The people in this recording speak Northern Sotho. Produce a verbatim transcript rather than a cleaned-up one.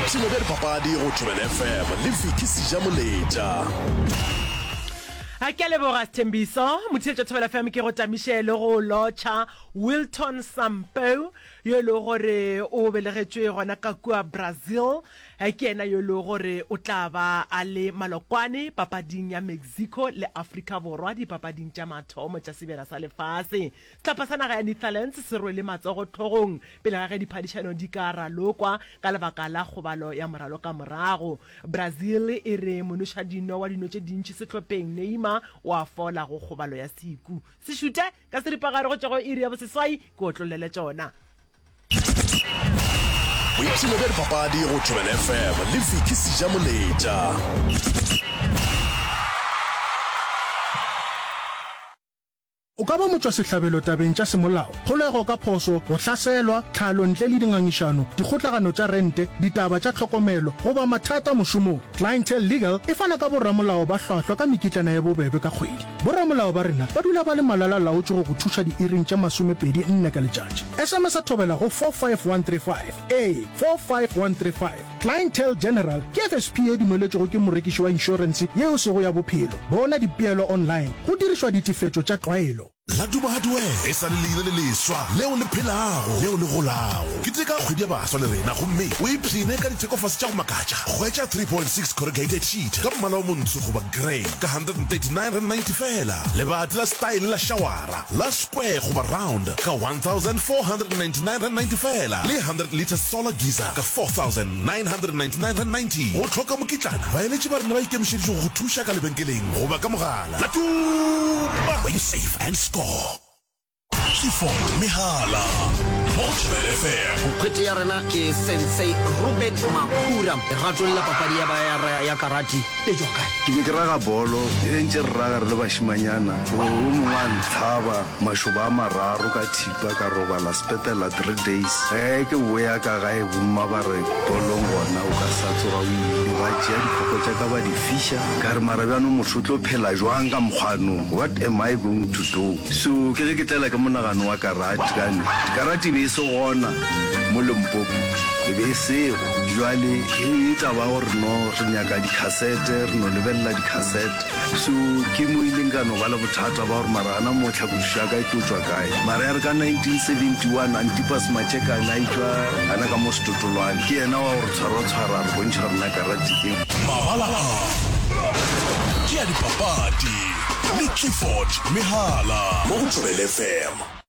Boipshino bja dipapadi go Thobela F M le Vicky Sejamoletša. A ke a leboga Sthembiso. Motheetša Thobela F M ke go tamiše le go lotšha Wilton Sampaio yo e lego gore o belegetšwe gona ka kua Brazil. Ke yena yo e lego gore o tla ba a le malokwane papading ya Mexico le Afrika Borwa dipapading tša mathomo tša Sebjana sa Lefase. Sehlopha sa naga ya Netherlands se rwele matsogo hlogong pele ga ge diphadišano di ka ralokwa ka lebaka la kgobalo ya moralokamorago. Brazil e re monošadino wa dino tše dintši sehlopheng Neymar o a fola go kgobalo ya seku. Se šute ka seripagare go tšwa go iri ya boseswai ke otlollele tšona. Boipshino bja dipapadi go Thobela F M le Vicky Sejamoletša. O ka ba motšwasehlabelo tabeng tša semolao, kgolego ka phošo, go hlaselwa, tlhalo ntle le dingangišano, dikgotlagano tša rente, ditaba tša tlhokomelo, goba mathata mošomong. Clientele Legal e fana ka boramolao ba hlwahlwa ka mekitlana ye bobebe ka kgwedi. Boramolao ba rena ba dula ba le malala-laotšwe go go thuša diiring tše masomepedi nne ka letšatši. S M S Thobela go four five one three five. Ee, four five one three five. Clientele General ke F S P ye dumeletšwego ke morekiši wa inšorense yeo sego ya bophelo. Bona dipeelo online go dirišwa ditefetšo tša tlwaelo. Laduma Hardware e sa le leina le leswa leo le phelago leo le golago. Keteka kgwedi ya baswa le rena gomme o ipshine ka dithekofase tša go makatša. Hwetša three point six corrugated sheet ka mmala o montsho goba grey ka one thirty-nine ninety fela. Lebati la style la shawara la square goba round ka one thousand four hundred ninety-nine ninety fela, le hundred litre solar geyser ka four thousand nine hundred ninety-nine ninety. Go hloka mokitlana, baeletši ba rena ba ikemišeditše go go thuša ka lebenkeleng goba ka mogala. Laduma, where you save and score. Clifford Mehala mo go Thobela F M. Nkgwete ya rena ke Sensei Ruben Makhura. Lerato le la papadi ya, ya, ya karate le tšwa kae? Ke be ke raga bolo e ntše re raga re le bašimanyana, o mongwe a ntlhaba mašoba a mararo ka thipa, ka robala sepetlela three days. Ge ke boya ka gae, bomma ba re bolong gona o ka sa tsoga o ile. Ba tšea diphoko tša ka ba di fiša. Ka re mara bjanong motho o tlo phela jwang ka mokgwanong? What am I going to do? So ke ge ke tlela ke monagano wa karate, kane karate e be e se gona mo Limpopo, e be e sego. Jwale e taba gore no re nyaka dikhasete, re no lebelela dikhasete. So ke mo ileng ka no ba le bothata ba gore mara gana mo tlhakodišo ya ka e tlo tšwa kae. Mara ya re ka nineteen seventy-one Antipas Matšekane a itšwa gana ka mo Setotolwane, ke yena wa gore tshwara-tshwara re bontšha rena karate ke. Mabala a ke a dipapadi le Clifford Mehala mo go Thobela F M.